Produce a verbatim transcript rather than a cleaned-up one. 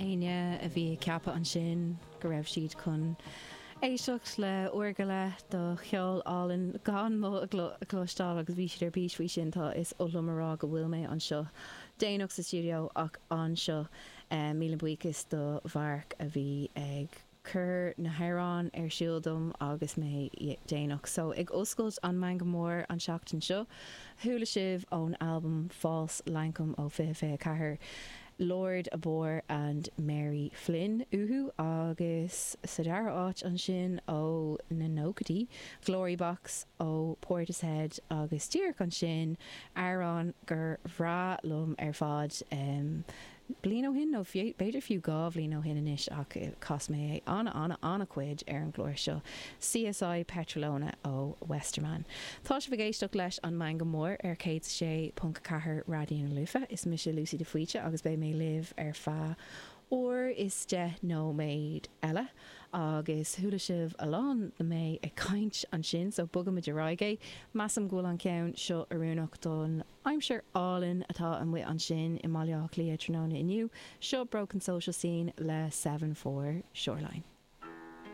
Éinne a bhí ag ceapadh ansin go raibh siad chun éisteacht le uair go leith de cheol álainn gan mó a chloisteáil agus bhí siad ar bís faoi sin tá is oth liom a rá go bhfuil mé anseo déanach sa stiúideo ach anseo míle buíochas do Mharc a bhí ag cur na hamhráin ar siúl dom agus mé déanach. So ag oscailt an Meangadh Mór an seachtain seo, chuala sibh ón albam False Lankum ó fiche fiche ceathair, Lord Abor and Mary Flynn uathu agus sa dara áit ansin ó na nóchaidí, Glory Box ó Portishead agus díreach ansin amhrán gur bhreá liom ar fad um, bliain ó shin nó b'fhéidir fiú dhá bhliain ó shin anois ach chas mé é an an an-chuid ar an gclár seo. CSI Petralona ó Westerman. Tá sibh ag éisteacht leis an Meangadh Mór ar céad sé ponc ceathair Raidió na Life, is mise Lucy de Faoite agus beidh mé libh ar feadh uair is deich nóiméad eile agus chuala sibh a lán de mé ag caint ansin so bogaimid ar aghaidh. Measaim go bhfuil an ceann seo oiriúnach don aimsir álainn atá amuigh ansin i mBaile Átha Cliath tráthnóna inniu, seo Broken Social Scene le Seven Four Shoreline.